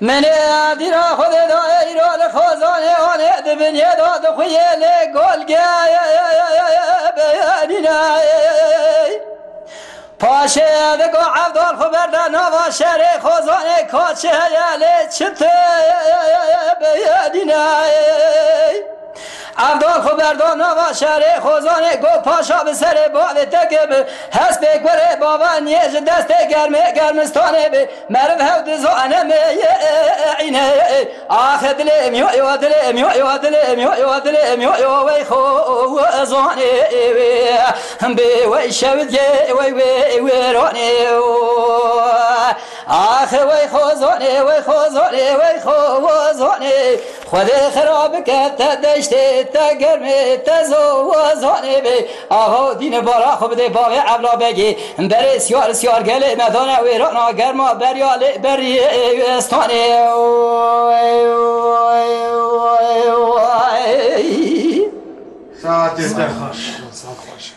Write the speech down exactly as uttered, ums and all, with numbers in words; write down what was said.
Menê dîna Xwedê dayê îro li Xozanê anê di binyê de dixuyê lê gol ge nîne. Paşê digo Evdal xwe berde nava şerê Xozanê kaçi heye lê çi tê nîne. Evdal xwe berda nava şerê Xozanê got paşa bi serê bavê te ke bi hespê kurê bava niyê ji destê germê germistanê bi. Meriv hew dizane meyîne. Axe dilê em yo yo dilê em yo yo dilê em yo yo dilê em yo yo wey xo zanê wê. Bê wey şewidiyê wey wê wêranê. Axe wey xo zanê wey xo zanê wey xo zanê. Xwedê xira bike te deştê te germê te zo zanê bê. Aho dîne bara xwe bidê bavê Evla Begê. Berê siyar siyar gelê me dane wêrana germa beriya lê beriyê stanê. Saetê te xweş.